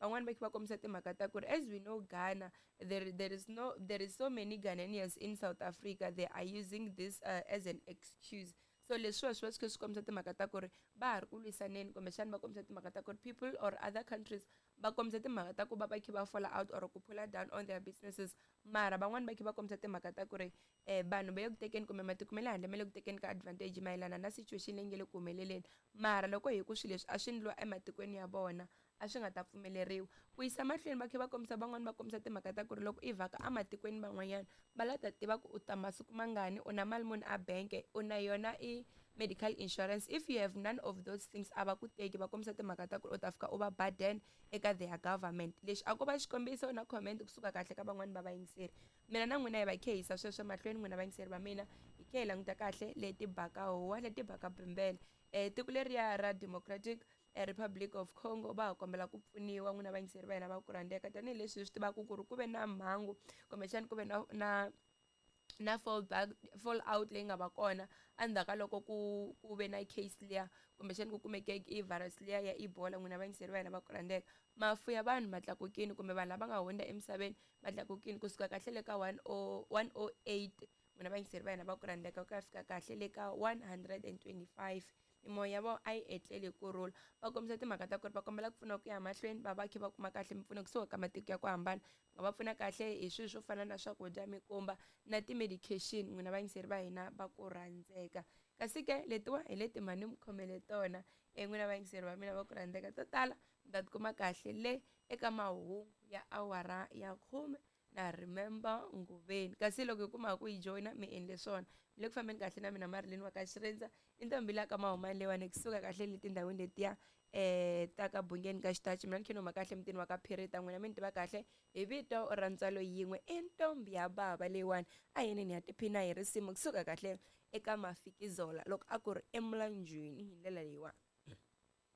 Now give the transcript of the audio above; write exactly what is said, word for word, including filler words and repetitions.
Van'wani va kha va kombisa timhaka ta ku ri as we know Ghana, there there is no there is so many Ghanaians in South Africa, they are using this uh, as an excuse. So leswiwa swi va swi kha swi kombisa timhaka ta ku ri va ha ri ku lwisaneni, kumbexana va kombisa timhaka ta ku ri people or other countries va kombisa timhaka ta ku va va kha va fall out or ku pull down on their businesses. Mara van'wani va kha va kombisa timhaka ta ku ri um vanhu va le ku tekeni kumbe matiko ma le handle ma le ku tekeni ka advantage mayelana na situation leyi nge le ku humeleleni. Mara loko hi ku swilo leswi a swi endliwa ematikweni ya vona a swi nga ta pfumeleriwa. Ku yisa mahlweni va kha va kombisa, van'wani va kombisa timhaka ta ku ri loko i vhaka ematikweni man'wanyana va la ta tiva ku u ta masiku mangani, u na mali muni a bank, u na yona i medical insurance. If you have none of those things a va ku teki, va kombisa timhaka ta ku ri u ta fika u va burden eka their government. Lexi a ko va xikombiso na comment kusuka kahle ka van'wani va vayingiseri. Mina na n'wina hi va khe hisa sweswo mahlweni, n'wina vayingiseri va mina, hi khe hi languta kahle leti baka huwa leti baka bembele. um tiko leriya ra Democratic Republic of Congo va ha kombela ku pfuniwa, n'wina vayingiseri va hina va ku rhandzeka, tanihileswi hi swi tivaka ku ri ku ve na mhangu kumbexana ku ve na na na fall back fall out leyi nga va kona endzhaku ka loko ku ku ve na case liya kumbexana ku kumeke i virus liya ya Ebola. N'wina vayingiseri va hina va ku rhandzeka, mafu ya vanhu ma tlakukile kumbe vanhu lava nga hundza emisaveni va tlakukile kusuka kahle le ka one o one o eight, n'wina vayingiseri va hina va ku rhandzeka, ku ya fika kahle le ka one hundred and twenty five. Mimoya ya vona a yi etleli hi kurhula. Va kombisa timhaka ta ku ri va kombela ku pfuniwa ku ya mahlweni, va va kha va kuma kahle mimpfuno kusuka ka matiko ya ku hambana, nga va pfuna kahle hi swilo swo fana na swakudya, mikumba na ti-medication, n'wina vayingiseri va hina va ku rhandzeka. Kasi ke letiwa hi leti mhani mi khomele tona e n'wina vayingiseri va mina va ku rhandzeka, to tala mi ta tikuma kahle le eka mahungu ya awara ya khume na Remember Nguveni. Kasi loko hi kuma ku yi joyina mi endle swona, mi le ku fambeni kahle na mina Marilyn wa ka Xirindza, i ntombi la ka Mahumani leyiwani kusuka kahle le tindhawini letiya um ta ka Bungeni ka Xitachi. Mina ni khe ni huma kahle mutini wa ka Phirita, n'wina mi ni tiva kahle hi vito ra ntswalo yin'we, i ntombi ya bava leyiwani. A yini ni ya tiphina hi risimu kusuka kahle eka Mafikizolo loko a ku ri emulanjwini hi ndlela leyiwani.